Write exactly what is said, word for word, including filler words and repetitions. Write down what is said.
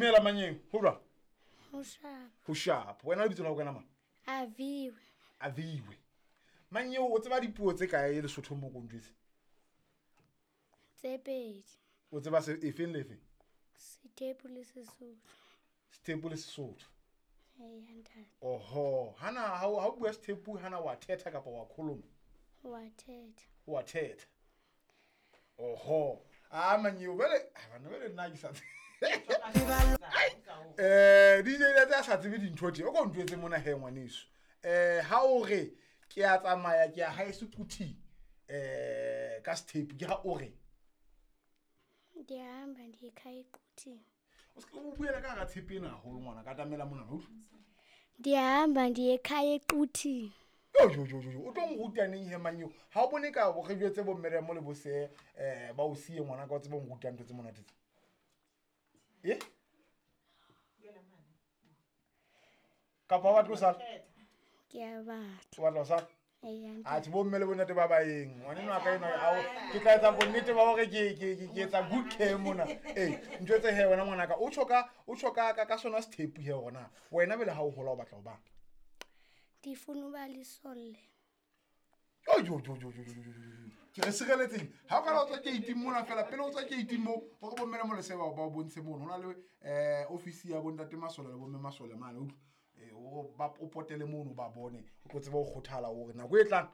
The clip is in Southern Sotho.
Dumela manyeng, ho jwang? Ho sharp. Ho sharp. Wena lebitso la ho kena mang? Aviwe. Aviwe. Manyeo, o tseba dipuo tse kae Lesotho mo ko njwetse? Tse pedi. O tseba se efeng le efeng? Sethepu le Sesotho. Sethepu le Sesotho. Eya ntate. Oho, hana ha o ha o bua sethepu hana wa thetha kapa wa kholoma? Wa thetha. Wa thetha. Oho. Ah manyeo bele, ah bana bele nna ke sa Eh D J le tsa sa tsebe dintho tje. O ko ntwetse mona he ngwaneso. Eh ha o re ke a tsamaya ke a haeso kuthi eh ka sethepu ke ha o re Ndihamba ndiye ekhaya eQuthini. O se o buela ka hara tshepe ena haholo ngwana ka tamela mona utlwa. Ndihamba ndiye ekhaya eQuthini. Yo yo yo yo o tlo nruta neng he manyeo? Ha o bone ka bo re jwetse bo mme mo le bo se eh ba o siye ngwana ka o tsebe nruta ntho tse monate tse. Eh? Kapa wa batla ho sala? Ke a batla. O batla ho sala? Eya, ntate. Atjhe, bo mme le bontate ba baeng. Ngwaneno wa ka enwa, ao, ke tla etsa bonnete ba hore ke, ke, ke, ke etsa good care mona. Eh, ntho tse he wena ngwanaka, o tjho ka, o tjho ka, ka, ka sona sethepu he hore na wena pele ha o hola o batla ho bang? Ndifuna uba lisole. Yo, yo, yo, yo, yo, yo, yo, yo, yo. Ke re sireletseng. Ha o ka la o tswa gate mona fela, pele o tswa gate mo, hore bo mme le molese ba o bontshe mono. Ho na le, eh, office ya bo ntate Masole le bo mme Masole mane, utlwa. Eh, o ba o potele mono ba bone, o tlo tseba ho kgothala hore nako e tlang